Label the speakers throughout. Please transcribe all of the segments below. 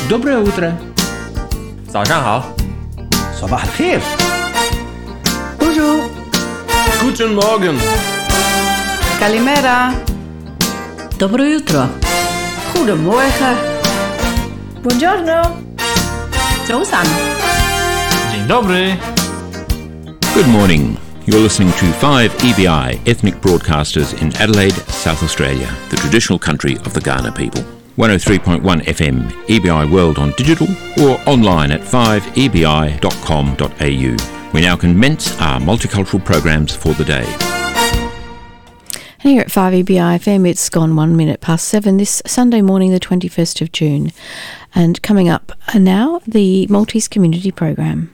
Speaker 1: Доброе утро.
Speaker 2: 早上好。
Speaker 3: صباح الخير
Speaker 4: Bonjour.
Speaker 2: Guten Morgen.
Speaker 4: Kalimera.
Speaker 5: Dobro jutro.
Speaker 4: Goedemorgen.
Speaker 6: Buongiorno.
Speaker 5: 早晨，
Speaker 2: Dzień dobry.
Speaker 7: Good morning. You're listening to 5EBI Ethnic Broadcasters in Adelaide, South Australia, the traditional country of the Ghana people. 103.1 FM, EBI World on digital or online at 5ebi.com.au. We now commence our multicultural programs for the day.
Speaker 8: And here at 5EBI FM, it's gone 7:01 this Sunday morning, the 21st of June. And coming up now, the Maltese Community Program.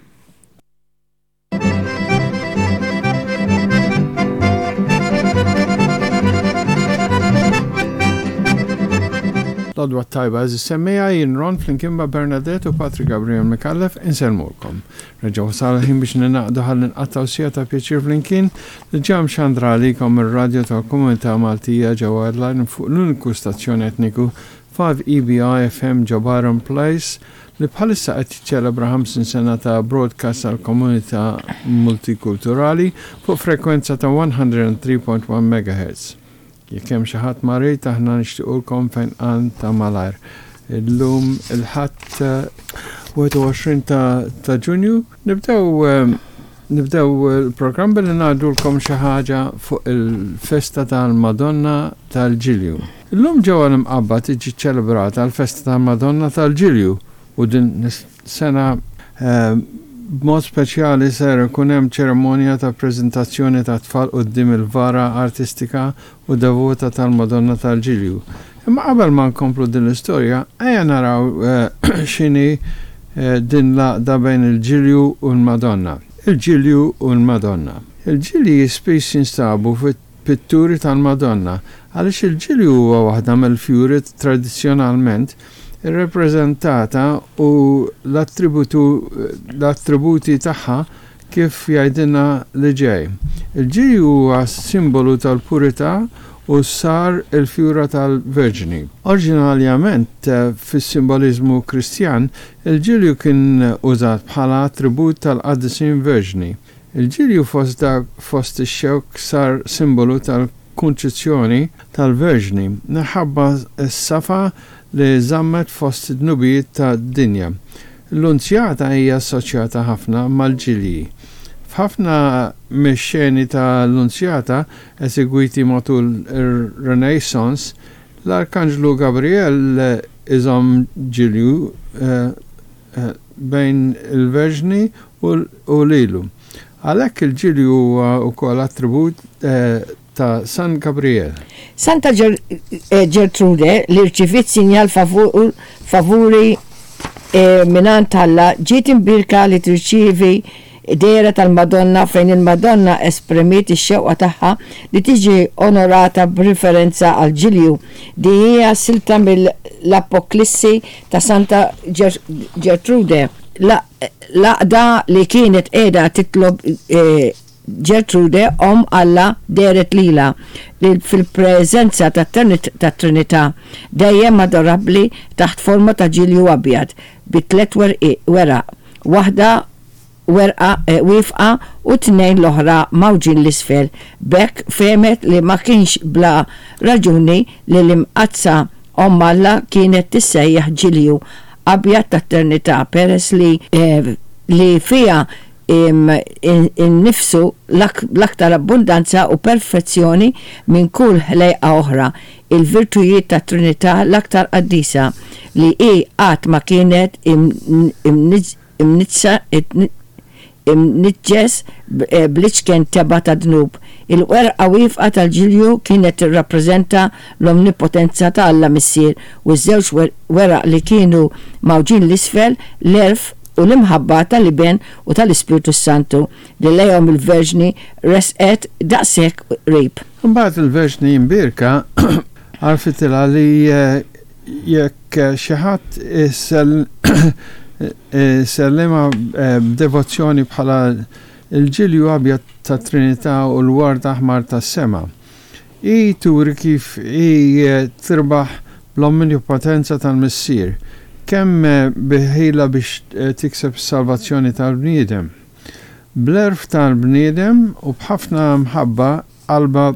Speaker 9: L-għodwa t-tajba għeżież semmiegħa jien Ron flimkien ma' Bernadette u Patri Gabriel Micallef insellmulkom. Reġa' wasal il-ħin biex ninaqdu ħalli nqattgħu siegħa ta' pjaċir flimkien li ġa mxandra għalikom mir-radju tal-Komunità Maltija ġewwa Adelaide fuq l-uniku stazzjon etniku 5EBI FM ġo Byron Place li bħalissa qed jiċċelebra 50 sena ta' broadcast għall-komunità multikulturali fuq frekwenza ta' 103.1 MHz. Jekk hemm xi ħadd marid aħna nixtiequlkom fejnqan ta' malajr. Illum il-Ħadd 21 ta' Ġunju nibdew nibdew il-programm billi ngħidulkom xi ħaġa fuq il-festa tal-Madonna tal-Ġilju. Illum ġewwa l-Imqabba tiġi ċċelebrata l-festa tal-Madonna tal-Ġilju u din is-sena b'mod speċjali ser ikun hemm ċerimonja ta' preżentazzjoni tat-tfal quddiem il-vara artistika u devota tal-Madonna tal-Ġilju. Imma qabel ma nkomplu din l-istorja, ejja naraw x'inhi din l-għaqda bejn il-Ġilju u l-Madonna. Il-Ġilju u l-Madonna. Il-ġilji spiss jinstabu fit pitturi tal-Madonna, għaliex il-ġilju huwa waħda mill-fjuri tradizzjonalment irrappreżentata u l-attributi tagħha kif jgħidilna li ġej. Il-ġilju huwa simbolu tal-purità u sar il-fjura tal-Verġni. Oriġinarjament fis-simboliżmu Kristjan, il-ġilju kien użat bħala attribut tal-qaddisin verġni. Il-ġilju fost dak fost ix-xewk sar simbolu tal-Kunċizzjoni tal-Verġni minħabba s-safa li żammet fost id-dnubiet tad-dinja. L-Lunzjata hija assoċjata ħafna mal-ġilji. F'ħafna mix-xeni ta' Lunzjata esegwiti matul ir-Renaissance, l-Arkanġlu Gabriel iżomm ġilju bejn il-Verġni u lilu. Għalhekk il-ġilju huwa wkoll attribut ta' San Gabriel.
Speaker 10: Santa Ġertrude li rċiviet sinjal favuri mingħand Alla ġiet imbierka li tirċievi dehra tal-Madonna fejn il-Madonna esprimiet ix-xewqa tagħha li tiġi onorata b'riferenza għall-Ġilju. Din hija silta mill-Apoklissi ta' Santa Ġertrude. L-għaqda li kienet qiegħda titlob Ġertrude, Omm Alla, dehret lilha, li fil-preżenza tat-Trinità, dejjem adorabbli taħt forma ta' ġilju abjad bi tlett weraq, waħda werqa wieqfa u t-tnejn l-oħra mgħawġin 'l isfel. B'hekk fehmet li ma kienx bla raġuni li l-Imqaddsa Omm Alla kienet tissejjaħ Ġilju Abjad tat-Trinità peress li li fiha innifsu l-aktar abbundanza u perfezzjoni minn kull ħlejqa oħra, il-virtujiet tat-Trinità l-aktar qaddisa, li hi qatt ma kienet imniġġsa imniġġes bl-iċken tebgħa ta' dnub. Il-werqa wieqfa tal-ġilju kienet tirrappreżenta l-omnipotenza ta' Alla Missier u ż-żewġ weraq li kienu mgħawġin 'l isfel, l-għerf u l-imħabba tal-Iben u tal-Ispirtu s-Santu, li lejhom il-Verġni resqet daqshekk qrib.
Speaker 9: Imbagħad il-Verġni Imbierka għarfitilha li Jekk xi ħadd isellimha b'devozzjoni bħala l-ġilju abjad tat-Trinità u l-ward aħmar tas-sema, hi turi kif hi tirbaħ bl-omnipotenza tal-Missier. kemm bi ħila biex tikseb is-salvazzjoni tal-bniedem. Bl-għerf tal-bniedem u b'ħafna mħabba qalbha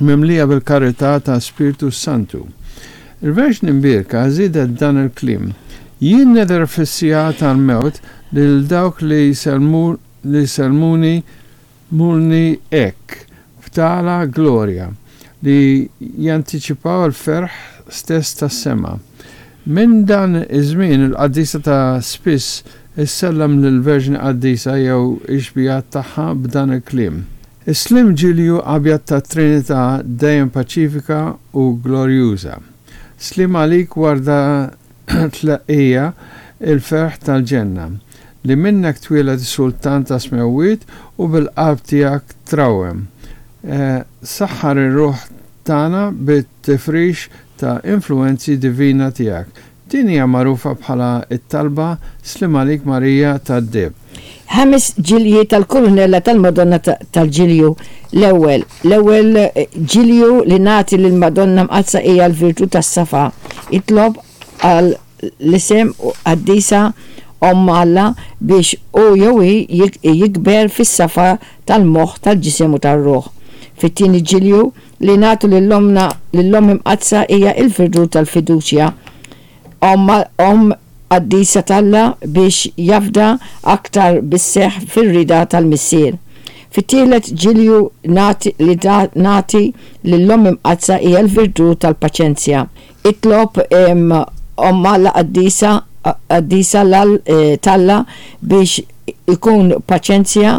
Speaker 9: mimlija bil-karità ta' Spirtu s-Santu. Il-Verġni Mbierka żiedet dan il-kliem, Jien nidher fis-siegħa tal-mewt lil dawk li li jsellmuni mulni hekk, b'tala glorja, li jantiċipaw il-ferħ stess tas-sema. Minn dan iż-żmien il-qaddisa ta' spiss issellem lill-Verġni Qaddisa jew ix-xbihat tagħha b'dan il-kliem. Is-sliem ġilju abjad tat-Trinità dejjem paċifika u glorjuża. Sliem għalik warda tleqqija il-ferħ tal-ġenna, li minnek twieled is-Sultan tas-smewwiet u bil-qalb tiegħek trawwem. Saħħar ir-ruħ tagħna bit-tifrix ta' influwenzi divina tiegħek. Din hija magħrufa bħala t-talba Sliem għalik Marija tad-Deheb.
Speaker 10: Ħames ġilji tal-Kurunella tal-Madonna tal-Ġilju L-ewwel, l-ewwel ġilju li nagħti lill-Madonna Mqaddsa hija l-virtù tas-safa. Itlob għal l-isem qaddisa Omm Alla biex hu jew hi jikber fis-safa tal-moħħ, tal-ġisem u tar-ruħ. Fit-tieni ġilju li nagħtu lil Ommna, lill-Omm Imqaddsa hija l-virtù tal-fiduċja. Omm, Omm qaddisa t'Alla biex jafda aktar bis-seħħ fir-rieda tal-Missier. Fit-tielet ġilju nagħti li nagħti lill-Omm Imqaddsa hija l-virtù tal-paċenzja. Itlob Omm Alla qaddisa, qaddisa t'Alla biex ikun paċenzja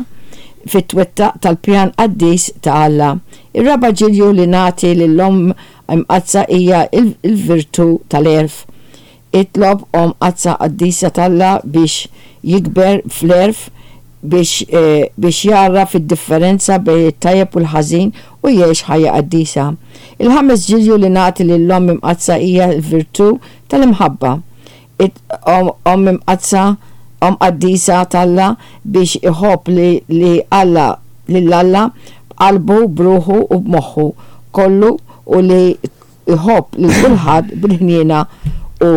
Speaker 10: fit-twettaq tal-pjan qaddis ta' Alla. Ir-raba' ġilju li nagħti lill-Omm Imqaddsa hija l-virtù tal-għerf. Itlob Omm Qaddsa Qaddisa t'Alla biex jikber fl-għerf biex biex jagħraf id-differenza bejn it-tajjeb u l-ħażin u jgħix ħajja qaddisa. Il-ħames ġilju li nagħti lill-Omm Imqaddsa hija l-virtù tal-imħabba. It Omm Imqaddsa, Omm Qaddisa t'Alla biex iħobb li li Alla lil Alla b'qalbu, b'ruħu u b'moħħu kollu u li jħobb lil kulħadd bil-ħniena u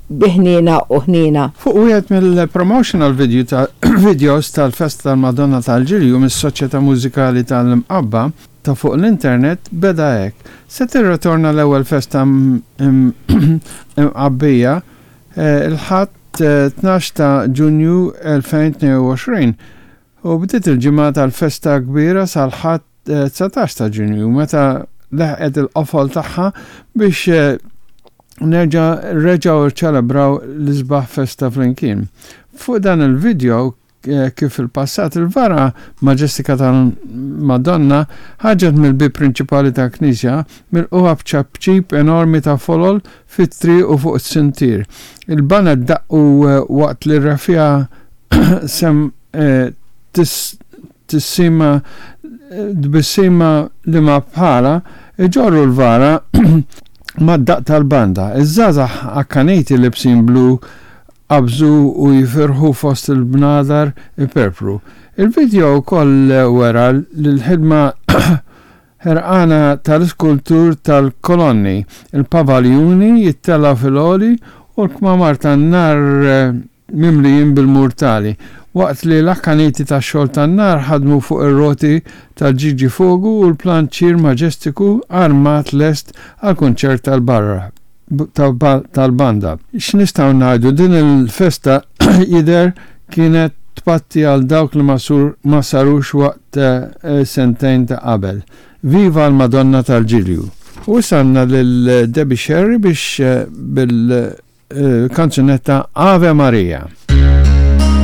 Speaker 10: bi ħniena u ħniena.
Speaker 9: Fuq wieħed mill-promotional video ta' videos tal-Festa tal-Madonna tal-Ġilju mis-Soċjetà Mużikali tal-Mqabba ta' fuq l-internet beda hekk, Se tirritorna l-ewwel festa Mqabbija l-Ħadd 12 ta' Ġunju 2022 u bdiet il-ġimgħa tal-festa kbira sal-Ħadd 19 ta' Ġunju meta leħqet il-qofol tagħha biex nerġa' reġgħu rċelebraw l-isbaħ festa flimkien. Fuq dan il-video kif fil-passat il-vara maġestika tal-Madonna ħarġet mill-bieb prinċipali tal-knisja milqugħa b'ċapċip enormi ta' folol fit-triq u fuq is-sintier. Il-baned daqqu waqt li r-reffiegħa sem Tissima tbissima li ma bħalha, iġorru l-vara mad-daqq tal-banda. Iż-żgħażagħ akkaniti libsin blu qabżu u jifirħu fost il-bnadar iperpru. Il-vidjo wkoll wera l-ħidma ħerqana tal-iskultur tal-kolonni, il-pavaljuni jittellgħu fil-għoli u l-kmamar tan-nar mimlijin bil-murtali, waqt li l-akkaniti tax-xogħol tan-nar ħadmu fuq ir-roti tal-Ġiġi Fogu u l-planċier maġestiku armat lest għall-kunċert tal-barra tal-banda. X'nistgħu ngħidu, din il-festa jidher kienet tpatti għal dawk li ma sarux waqt sentejn ta' qabel. Viva l-Madonna tal-Ġilju! U issa għandna lil Debbie Scerri biex bil kanzunetta Ave Maria.